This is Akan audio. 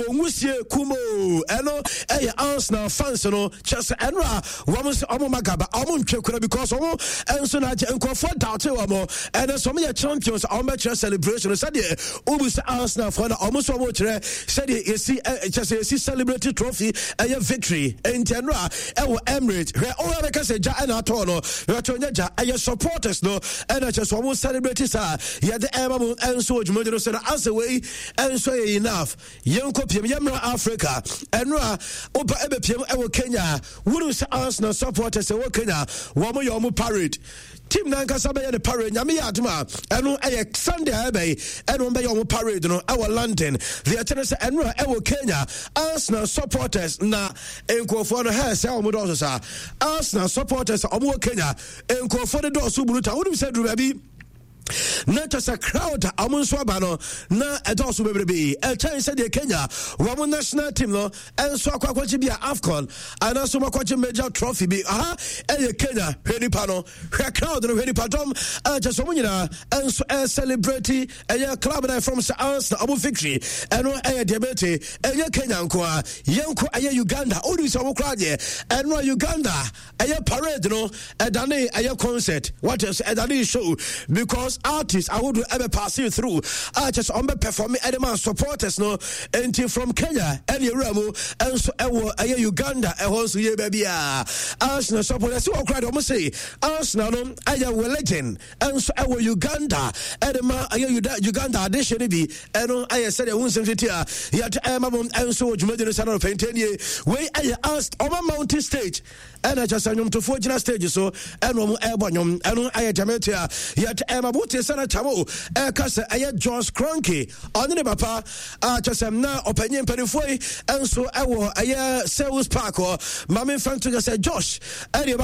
Nwusie kumoo ɛno ɛyɛ Arsenal fans no kyerɛ sɛ ɛno a wɔn nso wɔn ma gaba wɔn ntwe kura because wɔn nso na agye nkurɔfoɔ daate wɔn ɛno nso wɔn yɛ champions wɔn bɛkyerɛ celebration sɛdeɛ wobu sɛ Arsenal foɔ na wɔn nso wɔn kyerɛ sɛdeɛ yɛsi kyerɛ sɛ yɛsi celebrate trophy ɛyɛ victory nti ɛno a ɛwɔ Emirates hwɛ ɔwɔ bɛka sɛ gya ɛna atɔ no hwɛ to nyɛ gya ɛyɛ supporters no ɛna kyerɛ sɛ wɔn celebrate saa yɛde ɛma mo nso wɔ dwumadie no so na asɛ wei nso yɛ enough. Yɛnkɔ piem, yɛmmra Africa. Ɛno a woba ɛbɛpiem ɛwɔ Kenya. Wonim sɛ Arsenal supporters ɛwɔ Kenya, wɔn yɛ wɔn parade. Team nankasa bɛyɛ ne parade. Nyame yɛ adom a ɛno ɛyɛ Sunday a ɛbɛyi ɛna wɔn bɛyɛ wɔn parade no ɛwɔ London. Deɛ ɛkyɛ no sɛ ɛno a ɛwɔ Kenya, Arsenal supporters na nkurɔfoɔ no hɛ sɛ wɔn dɔɔso saa. Arsenal supporters a wɔn wɔ Kenya, nkurɔfoɔ no dɔɔso brutal. Wonim sɛ duru baabi na kyɛ sɛ crowd a wɔn nso aba no na ɛdɔɔso bebrebe ɛkyɛn sɛdeɛ Kenya wɔn national team no nso akɔ akɔgye bi a AFCON anaasɛ wɔn akɔgye major trophy bi. Aha ɛyɛ Kenya, hwɛ nipa no, hwɛ crowd no, hwɛ nipa dɔm ɛkyɛ sɛ wɔn nyinaa nso ɛcelebrate ɛyɛ club na ɛfam sɛ Arsenal wɔn victory. Ɛno ɛyɛ deɛ bɛte ɛnyɛ Kenya nko a yɛnkɔ ɛyɛ Uganda. Wodi sɛ wɔn koraa deɛ ɛno a Uganda ɛyɛ parade no ɛdane ɛyɛ concert, what else, ɛdane show because artists ahodoɔ ɛbɛ passing through a kyɛ sɛ ɔmbɛ perform ɛde ma supporters no. Nti from Kenya ɛne ewura mu ɛnso ɛwɔ ɛyɛ Uganda, ɛhɔ nso yɛ baabi a Arsenal supporters wɔ koraa deɛ ɔmo se Arsenal no ɛyɛ religion ɛnso ɛwɔ Uganda ɛde ma ɛyɛ Uganda adehyɛ no bi. Ɛno ɛyɛ sɛdeɛ ho nsɛm tete a yɛde ɛma mo ɛnso wɔ dwumadi no sɛ no pɛntɛnie. Wei ɛyɛ as ɔma mountain stage ɛna kyɛ sɛ nnwomtofoɔ gyina stage so ɛna ɔmo ɛbɔ nnwom. Ɛno ɛyɛ gyamete a yɛde ɛma mo te sɛ no kyamo ɛka sɛ ɛyɛ Josh Kroenke ɔne ne papa a kyɛ sɛ na ɔpanyin mpanimfoɔ yi ɛnso ɛwɔ ɛyɛ Selhurst Park hɔ. Maame mfa nto sɛ Josh ɛde.